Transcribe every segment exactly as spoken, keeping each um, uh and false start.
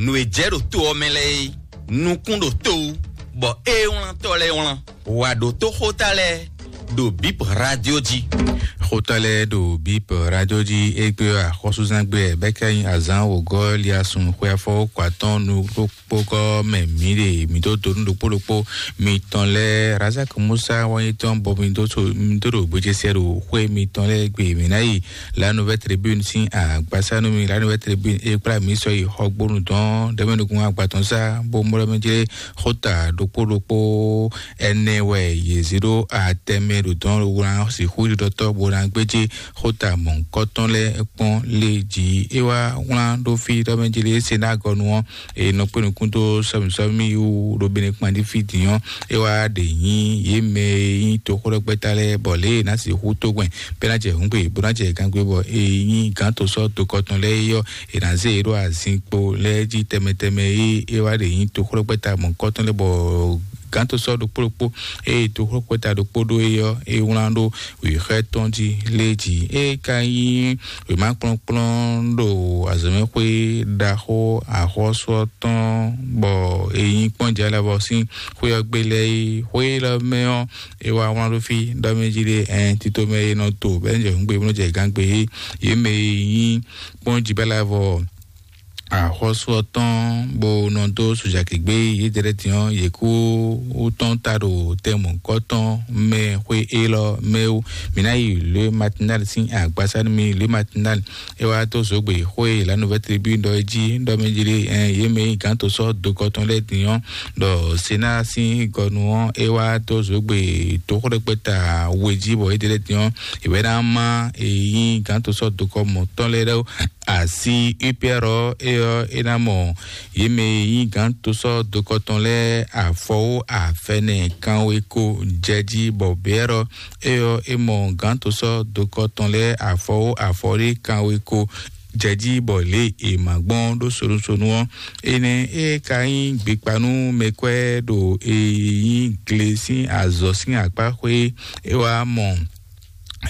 Nǔ e jɛ ɖo to ɔ́ mɛ lɛ́ɛ é, nukún ɖo to wú, bɔ é wlántɔ́ lɛ́ɛ wlán. Wǎ ɖó tó xóta lɛ́ɛ ɖo Bip Radio jí. Xóta lɛ́ɛ ɖo Bip Radio jí égbé axɔ́súzán gbe bɛ́ ká nyí azǎn wǒgɔ́ liasun xwe afɔwókɔ atɔ́ɔ́n nukpókpókɔ mɛ mǐ ɖe mǐ dó donu ɖokpó ɖokpó mitɔn lɛ́ɛ. Razak Musa wá nyí tɔn bɔ mi dó so mi dó ɖo gbéjésɛ ɖo xwé mitɔn lɛ́ɛ gbe mǐ ná yi La Nouvelle Tribune sín agbasá nú mi. La Nouvelle Tribune é kplá mǐ sɔ yi xɔgbónu dɔn ɖɛmɛnukun agbatɔn sá bó mlɔ́ mɛ jlé xóta ɖokpó ɖokpó ɛnɛ wɛ yě zé ɖó atɛmɛ ɖo dɔn wlán sixú ɖiɖɔtɔ́ bó ná gbéjé xóta mɔ̌hunkɔtɔn lɛ́ɛ kpɔ́n lé jí. É wá wlán ɖó fí ɖɔ mɛ jlé Senagɔnu ɔ́, e nɔ kpé nukún dó sɔmísɔmí wú ɖo Benɛkpandí fí din ɔ́, é wá ɖe nyí yě mɛ e nyí toxóɖɔgbɛ́ta lɛ́ɛ bɔ lě e ná sixú tógbɛn bɛ́ ná jɛ hǔngbe bó ná jɛ gangbe bɔ e nyí gǎn tó sɔ́ dokɔ tɔn lɛ́ɛ é ɔ́, è nǎ zé yě ɖó azinkpo lɛ́ɛ jí tɛmɛ tɛmɛ e é wá ɖe nyí toxóɖɔgbɛ́ta mɔ̌hunkɔtɔn lɛ́ɛ bɔ gǎn tó sɔ́ ɖokpó ɖokpó eye toxóɖɔgbɛ́ta ɖokpó ɖó é ɔ́, é wlán ɖó wěxɛ́ tɔn jí lé jí. É ka nyí wěmakplɔ́nkplɔ́n ɖo azɔ̌mɛxwé ɖaxó axɔ́sú ɔ́ tɔn, bɔ è nyi kpɔ́n jɛ lɛ́ vɔ sín xwé ɔ́ gbe lɛ́ɛ é. Xwé élɔ́ mɛ ɔ́, é wá wlán ɖó fí ɖɔ mɛ jí ɖé ɛn tito mɛ e nɔ to bɛ́ jɛ hǔngbe bó nɔ jɛ gǎngbe é. Yě mɛ e nyí kpɔ́n jí bɛ́ lɛ́ vɔ axɔ́sú ɔ́ tɔn bó nɔ dó sojagěgbé yědɛ́lɛ́ din ɔ́, yě kú tɔn ta ɖo tɛnmɔ̌kɔ́ tɔn mɛ xwé élɔ́ mɛ wú. Mǐ ná yi Le Matinal sín agbasá nú mi. Le Matinal é wá dó zǒgbè xó e La Nouvelle Tribune ɖɔ é jí ɖɔ mɛ jí ɖé ɛn yě mɛ yi gǎn tó sɔ́ dokɔ tɔn lɛ́ɛ din ɔ́, ɖɔ Sénat sín gɔnu ɔ́ é wá dó zǒgbè toxóɖɛkpɛ́ta we jí bɔ yědɛ́lɛ́ din ɔ́, è wɛ ná má e nyí gǎn tó sɔ́ dokɔ mɔ̌tɔn lɛ́ɛ ɖó asi U P R ɔ́, é ɔ́, é ná mɔ yě mɛ e nyí gǎn tó sɔ́ dokɔ tɔn lɛ́ɛ afɔwó afɛnɛ kanwe ko jɛ jí bɔ bɛ̌ ɔ́, é ɔ́, é mɔ gǎn tó sɔ́ dokɔ tɔn lɛ́ɛ afɔwó afɔɖé kanwe ko jɛ jí bɔ lě e è ma gbɔn ɖó sonusonu ɔ́. Énɛ́ é ka nyí gbekpa nú mɛkwɛ́ ɖo e nyí gle sín azɔ̌ sín akpá xwé é wá mɔ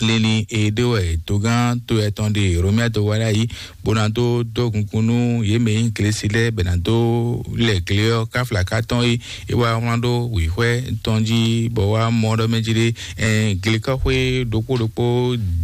lili e ɖe wɛ dogán to etɔn ɖe Romia do wá ɖ'ayǐ bó ná dó dó gungun nú yě mɛ e nyí Glesi lɛ́ɛ bɛ ná dó lɛ gle ɔ́ káflaka tɔn é é wá wlán ɖó wǐxwɛ́ tɔn jí bɔ wá mɔ ɖɔ mɛ jí ɖé ɛn glekɔ́xwé ɖokpó ɖokpó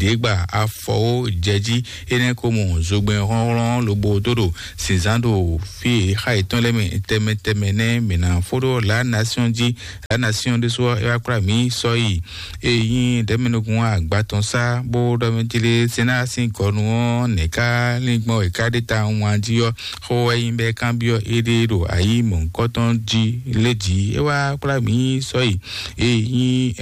ɖěgba afɔwó jɛ jí. Énɛ́ ko mɔ zogbɛ́n hlɔ́nhlɔ́n lobo dó ɖo sǐnzán ɖo fí e xa yětɔn lɛ́ɛ mɛ tɛmɛ tɛmɛ nɛ́ mǐ ná fó ɖó La Nation jí. La Nation ɖésú ɔ́ é wá kplá mǐ sɔ́ yi e nyí ɖɛ̌mɛnukun agba tɔn sá bó ɖɔ mɛ tlé Sénat sín gɔnu ɔ́ nɛ̌ ká lin gbɔn è ká ɖe ta wán jí ɔ́, xó wɛ nyí bɔ é kanbyɔ́ éɖée ɖo ayǐ mɔ̌hunkɔtɔn jí lé jí. É wá kplá mǐ sɔ́ yi e nyí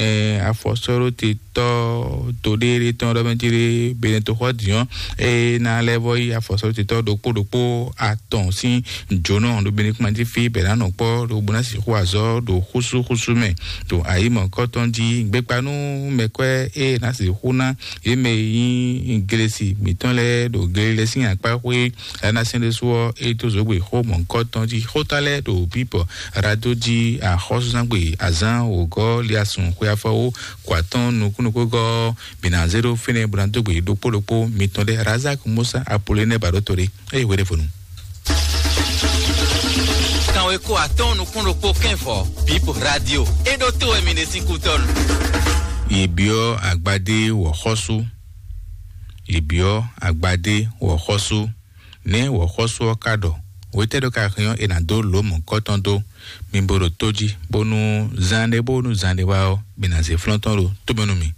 afɔsɔ́ɖóte tɔ́ to ɖéɖé tɔn ɖɔ mɛ tlé Benɛtoxɔ́ din ɔ́, é ná lɛ́ vɔ yi afɔsɔ́ɖótetɔ́ ɖokpó ɖokpó atɔn sín jǒnɔ ɖo Benɛkpandí fí bɔ è nǎ nɔ kpɔ́ ɖo bó ná sixú azɔ̌ ɖo xúsúxúsú mɛ ɖo ayǐ mɔ̌kɔ́tɔn jí. Gbekpa nú mɛkwɛ́ e ná sixú ná yě mɛ e nyí Glesi mǐtɔn lɛ́ɛ ɖo Galilée sín akpá xwé Lanasɛ́n ɖésú ɔ́, é dó zǒgbè xó mɔ̌kɔ́tɔn jí. Xóta lɛ́ɛ ɖo bíbɔ Rado jí axɔ́súzángbe azǎn wǒgɔ́ liasun xwe afɔwó kɔ atɔ́ɔ́n nukúnnukúgɔ́ ɔ́, mǐ ná zé ɖó fínɛ́ bó ná dó gbe ɖokpó ɖokpó mitɔn lɛ́ɛ. Razak Musa Apolinɛ ba ɖó to ɖé eye hwe ɖěvo nu. Kanwe kó atɔ́ɔ́n nukún ɖokpó kɛ́nvɔ Bip Radio. É ɖó to wɛ mi ɖe sín kútɔ́nu. Yě byɔ́ agbadé wɔ̌xɔ́sú. Yě byɔ́ agbadé wɔ̌xɔ́sú. Nɛ̌ wɔ̌xɔ́sú ɔ́ ka ɖɔ? Hwetɛ́ ɖo ka hɛn ɔ́, è nǎ dó lǒ mɔ̌kɔ́tɔn dó mi bo ɖo tó jí, bónú zán ɖé bónú zán ɖé wá ɔ́, mi ná zé flɔ́n tɔn ɖo tó mɛ nú mi.